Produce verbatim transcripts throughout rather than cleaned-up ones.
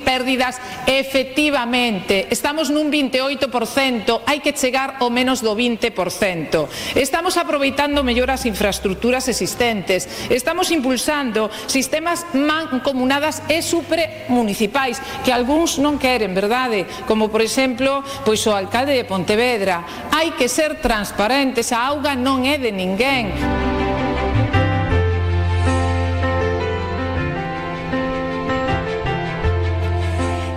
Pérdidas, efectivamente, estamos nun vinte e oito por cento, hai que chegar ao menos do vinte por cento. Estamos aproveitando mellor as infraestructuras existentes, estamos impulsando sistemas mancomunadas e supramunicipais, que algúns non queren, verdade? Como, por exemplo, pois o alcalde de Pontevedra. Hai que ser transparentes, a auga non é de ninguén.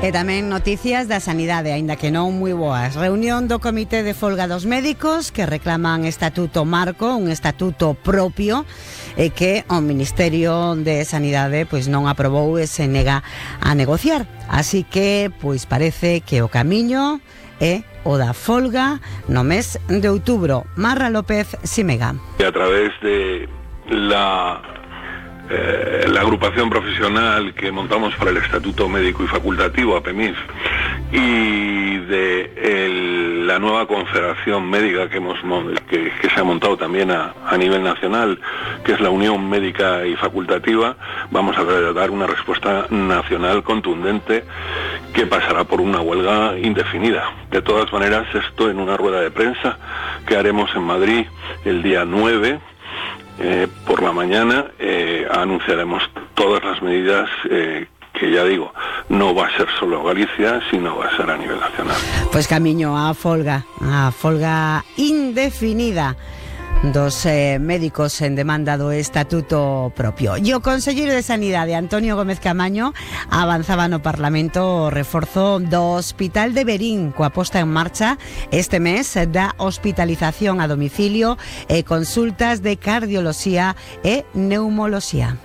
E tamén noticias da sanidade, aínda que non moi boas. Reunión do Comité de Folga dos Médicos que reclaman estatuto marco, un estatuto propio, e que o Ministerio de Sanidade pois non aprobou e se nega a negociar. Así que pois parece que o camiño é o da folga no mes de outubro. Marra López Simega. A través de la Eh, la agrupación profesional que montamos para el Estatuto Médico y Facultativo, APEMIF, y de el, la nueva confederación médica que, hemos, que, que se ha montado también a, a nivel nacional, que es la Unión Médica y Facultativa, vamos a dar una respuesta nacional contundente que pasará por una huelga indefinida. De todas maneras, esto en una rueda de prensa que haremos en Madrid el día nueve, Eh, por la mañana, eh, anunciaremos todas las medidas eh, que, ya digo, no va a ser solo Galicia, sino va a ser a nivel nacional. Pues camiño a folga, a folga indefinida dos eh, médicos en demanda do estatuto propio. E o Conselleiro de Sanidade, Antonio Gómez Camaño, avanzaba no Parlamento o reforzo do Hospital de Verín, coa posta en marcha este mes da hospitalización a domicilio e consultas de cardioloxía e neumoloxía.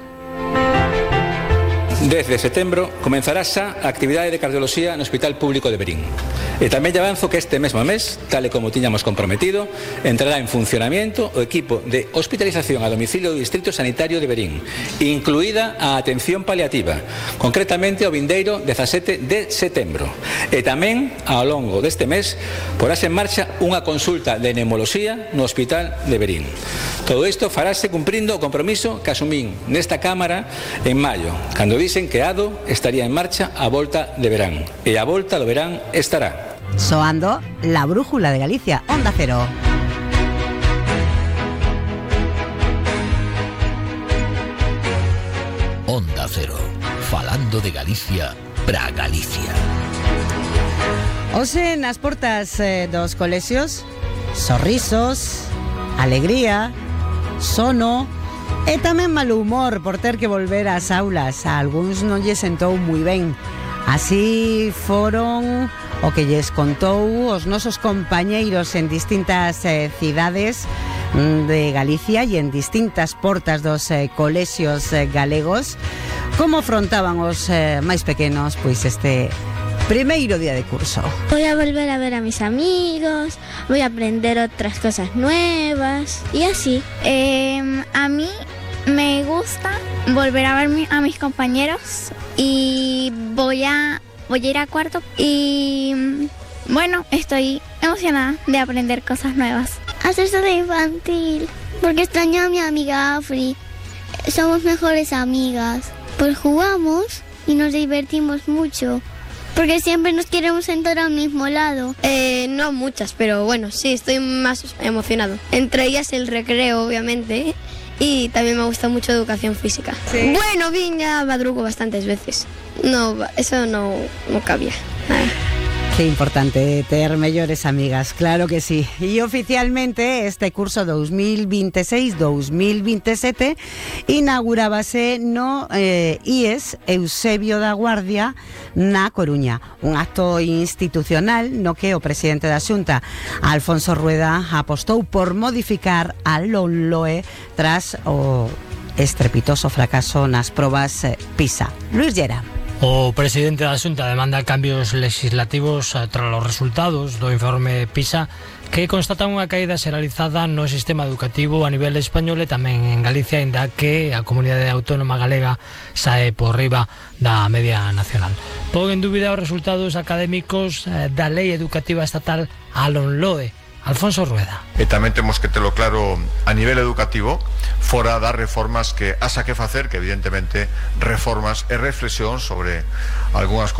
Desde setembro comenzará xa a actividade de cardioloxía no Hospital Público de Verín. E tamén lle avanzo que este mesmo mes, tal e como tiñamos comprometido, entrará en funcionamiento o equipo de hospitalización a domicilio do Distrito Sanitario de Verín, incluída a atención paliativa, concretamente o vindeiro dezasete de setembro. E tamén, ao longo deste mes, porase en marcha unha consulta de neumoloxía no Hospital de Verín. Todo isto farase cumprindo o compromiso que asumín nesta Cámara en maio, cando dicen que ADO estaría en marcha a volta de verán. E a volta do verán estará. Soando la brújula de Galicia, Onda Cero. Onda Cero, falando de Galicia pra Galicia. Hoxe nas portas eh, dos colexios, sorrisos, alegría, sono e tamén mal humor por ter que volver ás aulas. A algúns non lle sentou moi ben. Así foron o que lles contou os nosos compañeiros en distintas eh, cidades de Galicia e en distintas portas dos eh, colexios eh, galegos como afrontaban os eh, máis pequenos pois este primeiro día de curso. Voy a volver a ver a mis amigos, voy a aprender otras cosas nuevas y así. Eh, a mí me gusta volver a ver a mis compañeros y voy a, voy a ir a cuarto y bueno, estoy emocionada de aprender cosas nuevas. Hacer de infantil, porque extraño a mi amiga Afri. Somos mejores amigas, pues jugamos y nos divertimos mucho. Porque siempre nos queremos sentar al mismo lado. Eh, no muchas, pero bueno, sí, estoy más emocionado. Entre ellas el recreo, obviamente, y también me gusta mucho educación física. ¿Sí? Bueno, vine a madrugo bastantes veces. No, eso no, no cabía. Nada. Qué importante ter mellores amigas, claro que sí. E oficialmente este curso dos mil veintiséis dos mil veintisiete inaugurábase no eh, I E S Eusebio da Guardia na Coruña. Un acto institucional no que o presidente da Xunta, Alfonso Rueda, apostou por modificar a LOMLOE tras o estrepitoso fracaso nas probas eh, PISA. Luis Llera. O presidente da Xunta demanda cambios legislativos tras os resultados do informe PISA que constatan unha caída xeralizada no sistema educativo a nivel español e tamén en Galicia, ainda que a comunidade autónoma galega sae por riba da media nacional. Pon en dúbida os resultados académicos da Lei Educativa Estatal, a LOMLOE, Alfonso Rueda. E tamén temos que telo claro a nivel educativo, fora das reformas que asa que facer, que evidentemente reformas e reflexión sobre algunhas cousas